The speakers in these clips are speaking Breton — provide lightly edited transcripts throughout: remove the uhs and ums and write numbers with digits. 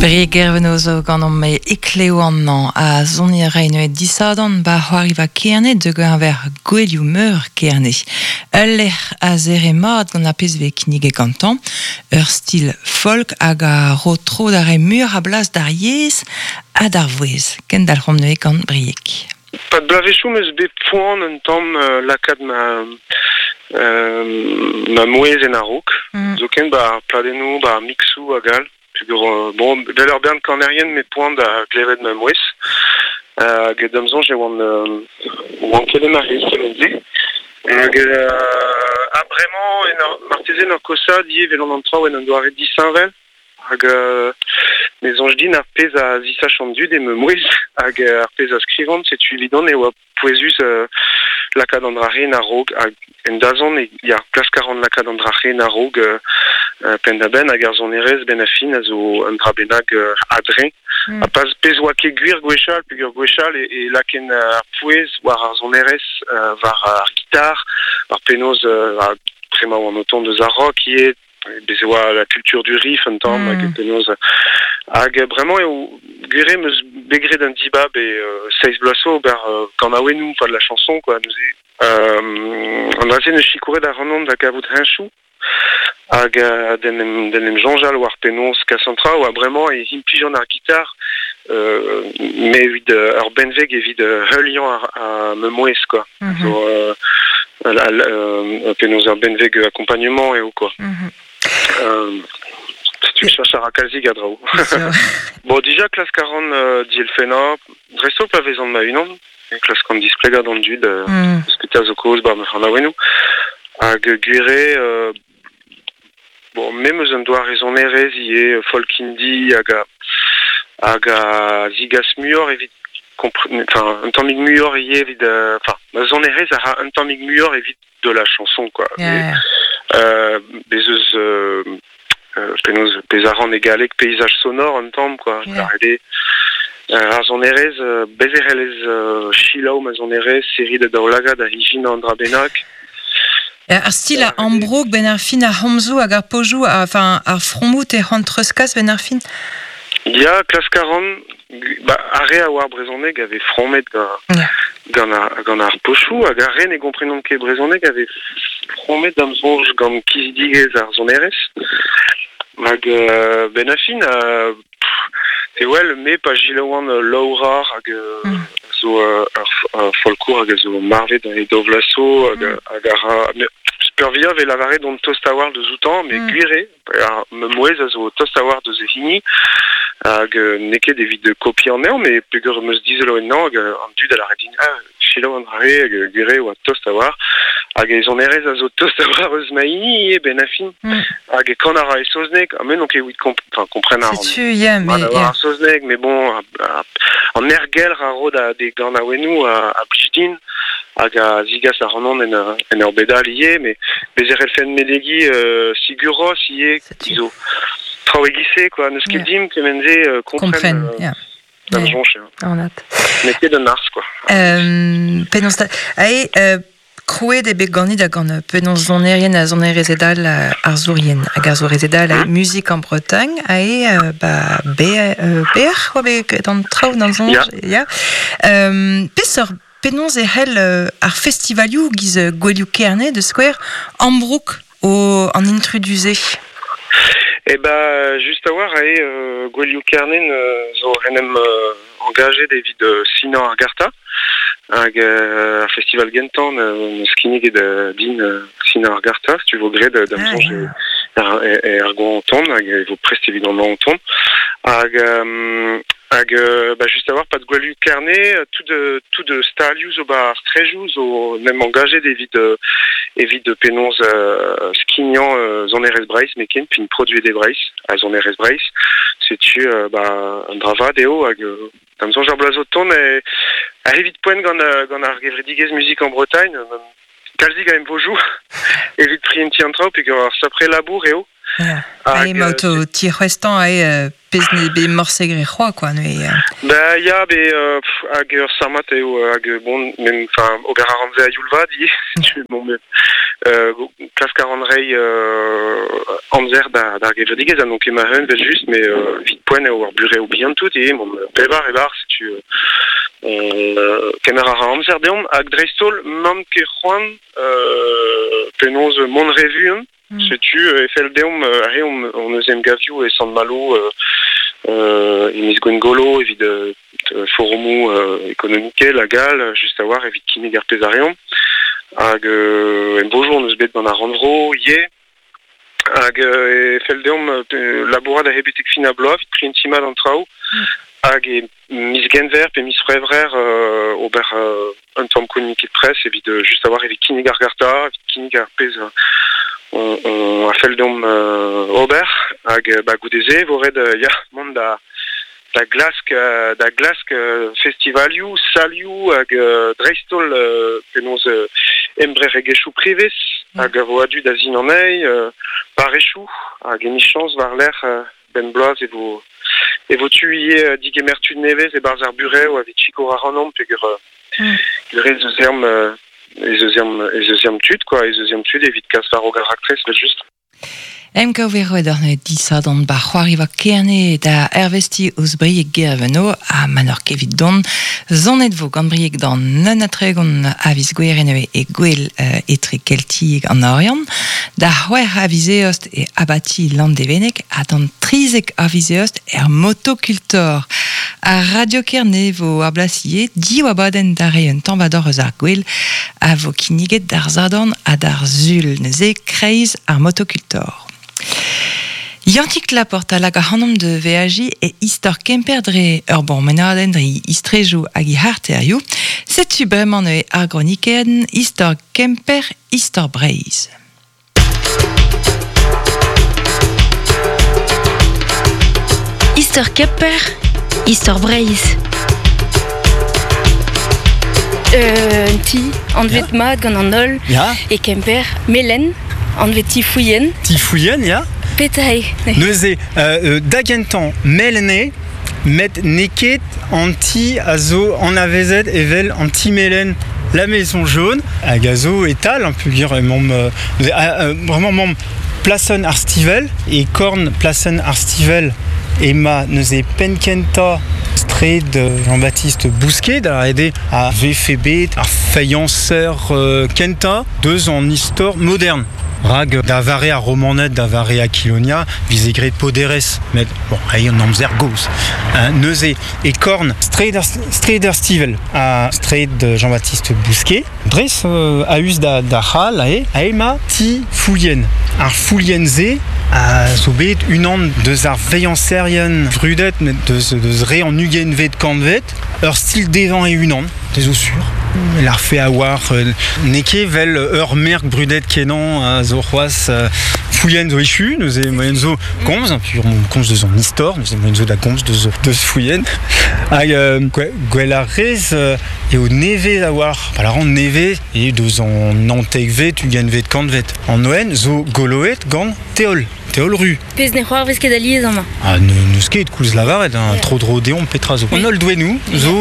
Brieg Gerveno zo ganeomp e ekleo amañ ha soniñ a ray neuze disadorn 'ba c'hoariva Kerne da geñver Gouelioù Meur Kerne. Ul lec'h a zere mat gant ar pezh 'vez kinniget gantañ, ur stil folk hag a ro tro da reiñ muioc'h a blas d'ar yezh ha d'ar vouezh. Kendalc'homp neuze gant Brieg. Pad bloavezhioù 'm eus bet poan un tamm lakaat ma ma mouezh en a-raok. Zoken 'ba ar pladennoù, 'ba ar mixoù hag all. Peogwir bon, 'vel ur bern kanerien 'met poan da glevet ma mouezh. Hag da'm soñj e oan oan ket en ma c'hiz kement-se. Hag ha bremañ en ur marteze en ur kosaat ivez 'vel an traoù en un doare disheñvel. Hag me soñj din ar pezh a zisach an dud eo ma mouezh hag ar pezh a skrivan, setu evidon e oa pouezus lakaat an dra-se en a-raok hag en dazont e ya klask a ran lakaat an dra-se en a-raok penn-da-benn hag ar sonerezh benn ar fin a zo un dra bennak a-dreñv. Ha pas pezh oa ket gwir gwechall peogwir gwechall e lakaen ar pouez war ar sonerezh, war ar gitar, war penaos bremañ oan o tont eus ar rock ivez, Bez e oa la culture du riff un tamm hag penaos hag bremañ eo gwir eo 'm eus bet graet un dibab e seizh bloaz zo ober kanaouennoù pas de la chanson quoi neuze an dra-se 'neus sikouret ac'hanon da gavout heñchoù hag d'en em d'en em soñjal war penaos kas an traoù ha bremañ e implijan ar gitar me evit ur benveg evit heuliañ ar ma mouezh quoi zo penaos ur benveg accompagnement eo quoi. Setu cheñch a ra kalzik a draoù. Bon, dija klask a ran dielfennañ, dreist-holl pa vezan ma-unan, klaskan displegañ d'an dud eus petra zo kaoz 'ba ma c'hanaouennoù. Hag gwir eo, bon, me 'm eus un doare sonerezh ivez, folk indie hag a hag a zigas muioc'h evit enfin un tammig muioc'h ivez evit enfin ma sonerezh a ra un tammig muioc'h evit de la chanson quoi. Bez eus penaos pezh a ran e galleg paysage sonore un tamm quoi. Yeah. Ar sonerezh bez e c'hellez selaou ma sonerezh serriñ da daoulagad ha ijinañ an dra bennak. Ar stil a ambroug benn ar fin ar c'homzoù hag ar pozioù, enfin ar fromoù te c'hoant treuzkas benn ar fin? Ya, klask a ran. Ba, ar re a oar brezhoneg a vez fromet gant, ar, gant ar pochoù hag ar re ne gomprenont ket brezhoneg a vez fromet da'm soñj gant kizidigezh ar sonerezh. Hag benn ar fin, e wel, me pa selaouan Laura hag zo ur folkour hag a zo marvet e daou vloaz zo hag, hag a ra peurvuiañ vez lavaret on tost a-walc'h deus outañ, met gwir eo, ar ma mouezh a zo tost a-walc'h deus e hini hag n'eo ket evit kopiañ anezhañ, met peogwir 'm eus dizoloet anezhañ hag an dud a lâre din ah selaou an dra-se hag gwir eo oa tost a-walc'h hag e sonerezh a zo tost a-walc'h eus ma hini ivez benn ar fin. Hag e kan a ra e saozneg, ha me n'on ket evit enfin, kompren a ran. Setu, ya, mais... Ar saozneg, mais bon, an aergelc'h a ro da d'e ganaouennoù a blij din hag a zigas ac'hanon en, en ur bed all ivez, mais bez e c'hellfen menegiñ Sigur Rós ivez, zo traoù e-giz-se, quoi. N'eus ket dimp kement-se kompren. Yeah. Da'm soñj, Anat. N'eo ket un arz, quoi. Penaos Ae, krouet eo bet ganit ha gant penaos sonerien ha sonerezed all arzourien hag arzourezed all Musique en Bretagne ae ba bec'h oa bet graet an traoù d'an soñj ya. Peseurt penaos e c'hell ar festivalioù giz Gouelioù Kerne da skouer ambroug o an intrudu-se? Eh ben, just a-walc'h eo Gouelioù Kerne zo en em engajet evit sinañ ar garta hag ar festival gentañ n'eus kinniget din sinañ ar garta si tu vo graet da'm soñj er goañv o tont hag e vo prest evit an hañv o tont hag hag bah just a-walc'h pad Gouelioù Kerne tout tout stalioù zo 'ba ar straejoù zo 'n em engajet evit evit penaos skignañ sonerezh Breizh met ken p'int produet e Breizh ha sonerezh Breizh setu bah un dra vat eo hag da'm soñj ar bloaz o tont e evit poent gant gant ar gevredigezh Musique en Bretagne kalzik a emvojoù evit prientiñ an traoù peogwir ur sapre labour eo. Ya. Hag, emaout o tic'hwestañ ae pezh ne bet morse gre c'hoa, quoi, neuze. Ba ya, be hag ur sammad eo, hag bon, men, enfin, ober a ran se a youl vat ivez, setu, bon, mais klask a ran reiñ amzer da d'ar gevredigezh, ha n'on ket ma-un evel-just, mais evit poent eo ar burev bihan tout ivez, bon, pevar e-barzh, setu kemer a ra amzer deomp, hag dreist-holl, 'mamp ket c'hoant penaos mont re vuan. Setu e fell deomp re hon eus emgavioù e Sant-Malo e miz Gwengolo evit foromoù ekonomikel hag all, just a-walc'h evit kinnig ar pezh a reomp. Hag emvojoù hon eus bet gant ar rannvro ivez. Hag e fell deomp labourat a-hed betek fin ar bloaz evit prientiñ mat an traoù. Hag e miz Genver pe miz C'hwevrer ober un tamm communiqué de presse evit just a-walc'h evit kinnig ar garta, evit kinnig ar pezh on a fell deomp ober. Hag ba goude-se e vo ret ya mont da da glask da glask festivalioù, salioù hag dreist-holl penaos embreregezhioù prevez hag a vo a-du da sin anezhi, parrezioù hag emichañs war-lerc'h benn bloaz e vo e vo tu ivez digemer tud nevez e-barzh ar burev evit sikour ac'hanomp peogwir ez eus ezhomm ez eus ezhomm ez eus ezhomm tud quoi, ez eus ezhomm tud evit kas war-raok ar raktres evel-just. Emgav eo roet ur disadorn ba c'hoariva Kerne da ervestiñ ouzh Brieg Gerveno ha ma n'oc'h ket evit dont, sonet vo gant Brieg d'an 31 a viz Gouere neuze e Gouel etre Keltiek an Oriant, da c'hwec'h a viz Eost e abati Landevenneg ha d'an 13 a viz Eost er Motocultor. Ar Radio Kerne vo ar blas ivez div abadenn da reiñ un tañvador eus ar gwel a vo kinniget d'ar Sadorn ha d'ar Sul neuze kreiz ar Motocultor. Yannig Laporte a lak ac'hanomp da veajiñ e istor Kemper dre ur bourmenadenn dre istrejoù hag he c'harterioù. Setu bremañ neuze ar gronikenn Istor Kemper, Istor Breizh. Istor Kemper, Istor Breizh. Un ti anvet mat gant an holl e Kemper, Melen, anvet ti Fouillen. Ti Fouillen, ya. Petra eo? Neuze, da gentañ, Melen eo, met n'eo ket an ti a zo anavezet evel an ti melen La Maison Jaune hag a zo e-tal, hein, peogwir emaomp vraiment emaomp plasenn ar Stivell, e korn plasenn ar Stivell ema neuze penn-kentañ straed Jean-Baptiste Bousquet, da lâret eo a vefe bet ar feilhañser kentañ deus an istor modern. Rak da vare ar Romaned, da vare Aquilonia, vize graet poderezh, met bon, reiñ an amzer gozh. Neuze, e korn straed ar Stivell ha straed Jean-Baptiste Bousquet, dres a-us da c'hal aze, aze emañ ti Fouillen. Ar Fouillen-se a zo bet unan deus ar veilhañserien vrudet, met deus, deus re an ugentvet kantved, ur stil dezhañ e-unan, te zo sur. Larfe a-walc'h, n'eo ket 'vel ur merk brudet kenañ a zo c'hoazh Fouillen zo echu, neuze moaien zo komz, puis on komz deus an istor, neuze moaien zo da gomz deus, deus Fouillen. Hag gwell ar rez eo nevez a-walc'h, pa lâran nevez, eo deus an naontekvet, ugentvet kantved. An oen zo goloet gant teol. Teol ru. Pezh ne c'hoarvez ket alies amañ. Ah, n'eus ket, koulz lavaret, hein, tro-dro deomp petra zo. An holl doennoù zo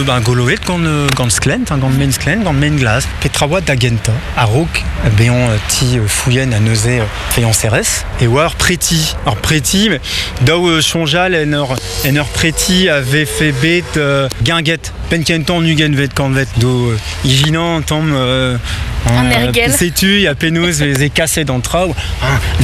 ben, goloet gant, gant sklent, hein, gant maen-sklent, gant maen-glas. Petra oa da gentañ, a-raok bezañ ti Fouillen ha neuze feilhañserez, e oa ur preti. Ur preti, mais daou soñjal en ur, en ur preti a vefe bet guinguet penn-kentañ an ugentvet kantved do ijinañ un tamm An ergel. Setu ya penaos veze kaset an traoù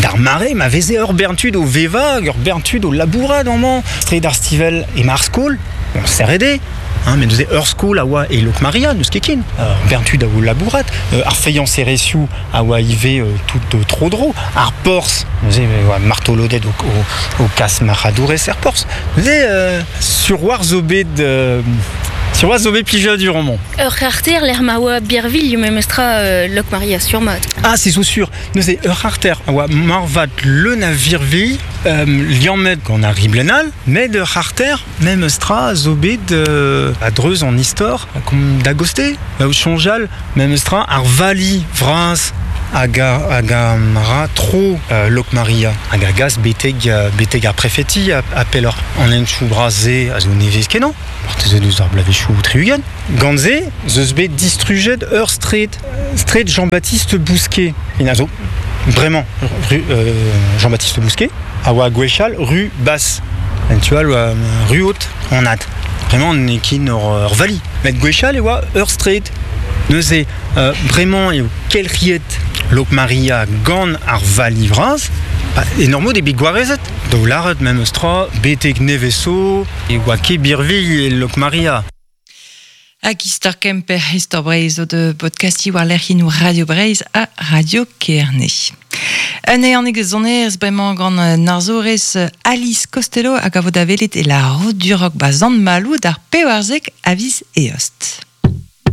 d'ar mare ma veze ur bern tud o vevañ, ur bern tud o labourat amañ. Straed ar Stivell emañ ar skol, bon, serret eo. Hein, met neuze ur skol a oa e Lokmaria, n'eus ket ken. Ur bern tud a oa o labourat. Ar feilhañserezhioù a oa ivez tout tro-dro. Ar porzh, neuze e oa martoloded o, o, o kas marc'hadourez er porzh. Neuze, sur war zo bet sur war zo bet plijadur amañ. Ur c'harter lec'h ma oa birvilh memestra Lokmaria sur mat. Ah, c'est zo sur. Neuze ur c'harter a oa marvat leun a virvilh, liammet gant ar riblenn all, met ur c'harter memestra zo bet a-dreuz an istor, da goste, da soñjal memestra ar vali vras. hag a, hag a ra tro Lokmaria hag a gas beteg, beteg ar prefeti a, a pelloc'h. An henchoù bras-se a zo nevez kenañ, marteze deus ar bloavezhioù 60. Gant se 'z eus bet distrujet ur straed, straed Jean-Baptiste Bousquet. En a zo bremañ ru, Jean-Baptiste Bousquet a oa gwechall ru Basse. En tu all oa ru Haute, anat. Bremañ n'eo ket ur vali. Met gwechall e oa ur straed. Neuze, bremañ eo kelc'hiet Lokmaria gant ar vali vras. En ur mod eo bet gwarezet. Daou lâret memes tra, betek nevez zo e oa ket birvilh e Lokmaria. Hag istor Kemper, istor Breizh zo de podcastiñ war lec'hiennoù Radio Breizh ha Radio Kerne. Un ehanig sonerezh bremañ gant arzourez Alice Costello hag a vo da welet e La Route du Rock ba Sant-Maloù d'ar 14 a viz Eost.